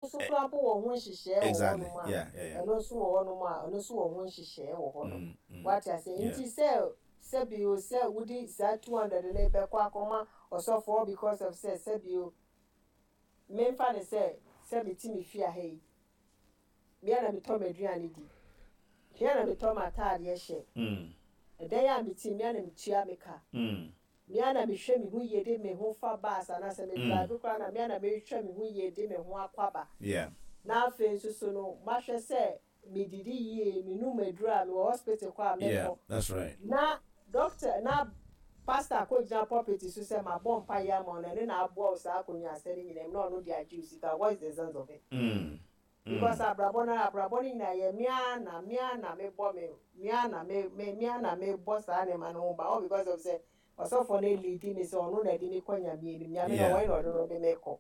nso koraa mpo wɔ ho nhyehyɛɛ wɔ hɔnom a, ɛno nso wɔ hɔnom a, ɛno nso wɔ ho nhyehyɛɛ wɔ hɔnom. Wate aseɛ? Nti sɛ, sɛbi o, sɛ wode saa 200 no bɛkɔ akɔma ɔsɔfo all because of sɛ, sɛbi o, memfa no sɛ, sɛ mete me fie ha yi, me ara na metɔ m'aduane di, me ara na metɔ m'ataadeɛ hyɛ, ɛdan a mete mu, me ara na metua me ka. Me ara na mehwɛ me ho yie de me ho fa bus anaasɛ me drive koraa na me ara na mehwɛ me ho yie de me ho akɔ aba. Na afei nso so no mahwɛ sɛ medidi yie, menum aduro a, mewɔ hospital kɔ a mɛkɔ. Na doctor na pastor akɔgyina pulpit so sɛ mabɔ mpaeɛ ama wo na ɛno na aboa wo saa akonnwaasɛ no nyinaa mu na ɔno de agye wo sika, what is the sense of it? Because abrabɔ no abrabɔ no nyinaa yɛ me ara na me ara na me bɔ me me ara na me me me ara na me bɔ saa nneɛma no ho ban all because of sɛ ɔsɔfoɔ no lead me sɛ ɔno na ɛde me kɔ Nyame anim. Nyame no ɔwɔ he na ɔde no de me kɔ?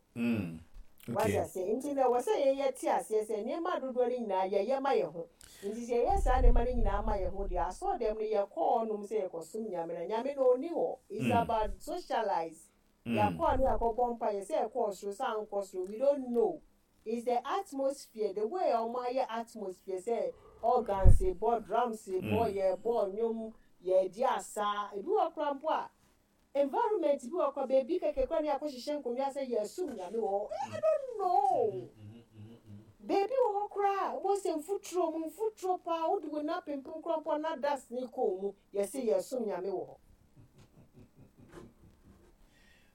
Wate aseɛ? Nti no ɛwɔ sɛ yɛn yɛte aseɛ sɛ nneɛma dodoɔ no nyinaa yɛyɛ ma yɛn ho. Nti sɛ yɛyɛ saa nneɛma no nyinaa ma yɛn ho deɛ asɔre dɛm no yɛkɔ hɔ nom sɛ yɛkɔsom Nyame na Nyame no ɔnni hɔ. It's about socialize. Yɛakɔ a ne yɛakɔbɔ mpaeɛ sɛ ɛkɔɔ soro sɛ ankɔ soro we don't know. It's the atmosphere, the way a wɔayɛ atmosphere sɛ organs bɔ, drums bɔ, yɛbɔ nnwom, yɛredi asa. Ebi wɔ hɔ koraa mpo a, environment bi wɔ hɔ koraa, baabi kɛkɛ koraa na yɛakɔhyehyɛ nkonnwa sɛ yɛresom Nyame wɔ hɔ. I don't know. Baabi wɔ hɔ koraa a, wobɛhu sɛ mfuturo mu, mfuturo paa, wode wo nan pempem koraa mpo a na dust no rekɔ wo mu, yɛse yɛresom Nyame wɔ hɔ.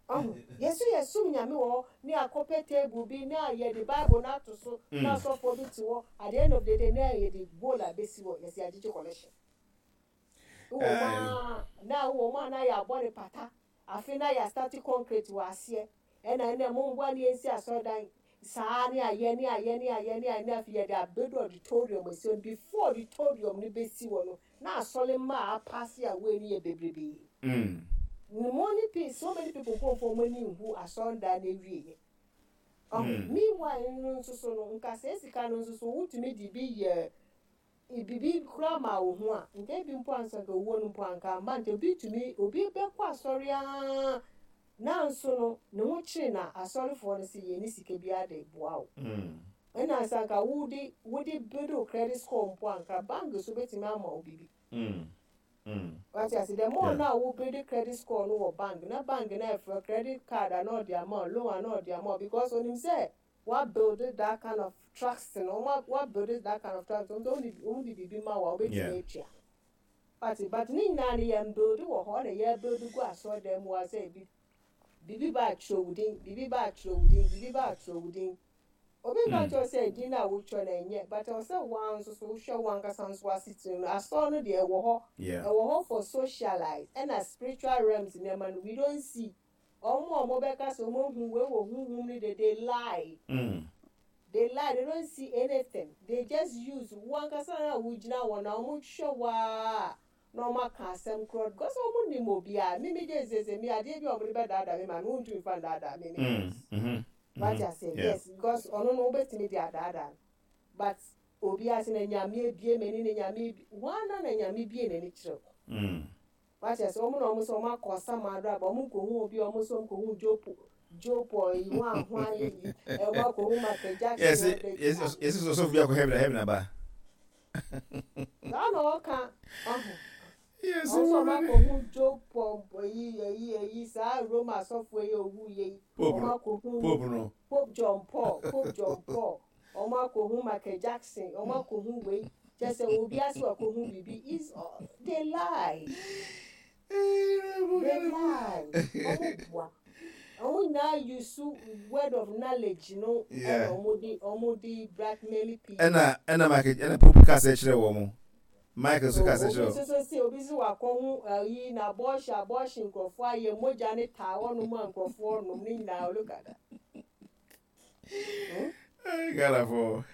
Wahu? Yɛn nso yɛsom Nyame wɔ hɔ ne akɔpɛ table bi na yɛde Bible no ato so na asɔfoɔ bi te hɔ, at the end of the day na yɛde bowl abɛsi hɔ, yɛse yɛagyegye collection. Wowɔ mu ara na wowɔ mu a na yɛabɔ no pata, afe na yɛastarte concrete wɔ aseɛ, ɛna ɛnɛ momboa ne yɛnsi asɔredan, saa ne ayɛ ne ayɛ ne ayɛ ne ayɛ na afei yɛde abɛdu auditorium asi hɔ, before auditorium no bɛsi hɔ no na asɔre mma a apaase away no yɛ bebrebee. Many pe so many people mpo mfa wɔn ani nhu asɔredan no awieɛ. Ɔho, meanwhile no nso so no, nka saa sika no nso so wotumi de bi yɛ biribi koraa maa wo ho a, nka ebi mpo ansa nka owuo no mpo anka amma. Nti obi tumi, obi bɛkɔ asɔre ara nanso no ne ho kyere na asɔrefoɔ no se yɛnni sika biara de boa wo. Ɛna sɛ anka wode wode build wo credit score mpo a anka bank nso bɛtumi ama wo biribi. Wate ase? The more na wo build credit score no wɔ bank na bank no ɛfrɛ credit card a na ɔde ama wo, loan a na ɔde ama wo because onim sɛ wa build that kind of trust no, wɔn wa build that kind of trust, wɔn de wɔn de biribi ma wo a wobɛtumi atua. Wate? But ne nyinaa no yɛn build wɔ hɔ na yɛ build gu asɔredan mu hɔ sɛ bi biribi ba a twerɛ wo din, biribi ba a twerɛ wo din, biribi ba a twerɛ wo din. Obi nka nkyerɛ wo sɛ din no a wotwerɛ no ɛnyɛ but ɛwɔ sɛ wo ara nso so wohwɛ wo ankasa nso w'asetena mu. Asɔre no deɛ ɛwɔ hɔ, ɛwɔ hɔ for socialize ɛna spiritual realms nneɛma no we don't see. Wɔn a wɔbɛka sɛ wɔahu wei wɔ honhom no deɛ they lie. They lie, they don't see anything. They just use wo ankasa na wogyina hɔ na wɔhwɛ wo ara na wɔaka asɛm korɔ because wɔn nim obiara. Me me gye sɛ sɛ me adeɛ bi a wɔde bɛdaadaa me maame wontumi fa ndaadaa me me. Wate aseɛ? Yes, because ɔno no wobɛtumi de adaadaa no but obiara sɛ na Nyame abue m'ani na Nyame abue hwan na Nyame bue n'ani kyerɛ wo? Wate aseɛ? Wɔn na wɔn sɛ wɔn akɔ ɔsamado aba, wɔn nkɔhu obi a wɔn nso wɔn kɔhu Joe Joe Paul yi, hwan hwan yi, wɔn akɔhu Michael Jackson. Yɛsi yɛsi yɛsi sɔsɔfo bi akɔ heaven heaven aba. Saa na ɔka ɔho. Wɔn nso wɔn akɔhu Joe Paul yi yi yi saa Roma asɔfo yi owu yɛ yi. Pope Wɔn akɔhu Pope no. Pope John Paul Pope John Paul. Wɔn akɔhu Michael Jackson, wɔn akɔhu wei, kyerɛ sɛ obi ase wakɔhu biribi is they lie. They lie. Wɔn boa. Wɔn nyinaa use word of knowledge no ɛna wɔn de blackmail people. Ɛna ɛna Michael ɛna Pope kasa kyerɛ wɔn. Michael nso kasa kyerɛ wɔn. Obi nso se obi nso wakɔhu ɛyi na abortion abortion nkurɔfoɔ ayɛ mogya ne taa hɔnom a nkurɔfoɔ nom ne nyinaa look at that. Ghana fo.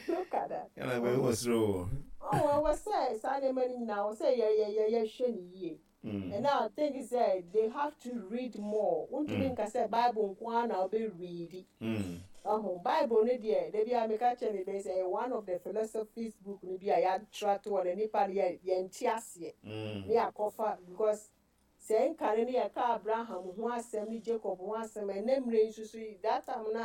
Look at that. Ghana fo wɔ soro o. Oh, ɛwɔ sɛ saa nneɛma no nyinaa wɔ sɛ yɛ yɛ yɛ yɛhwɛ ne yie. And I think sɛ they have to read more. Wontumi nka sɛ Bible nko ara na wobɛ read. Ɔho Bible no deɛ da bi a meka kyerɛ me bɛn sɛ ɛyɛ one of the philosophies book no bi a yɛatwerɛ ato hɔ na nipa no yɛ yɛnte aseɛ. Ne yɛakɔfa because sɛ nkane no yɛka Abraham ho asɛm ne Jacob ho asɛm ɛnɛ mmerɛ yi nso so that time no a.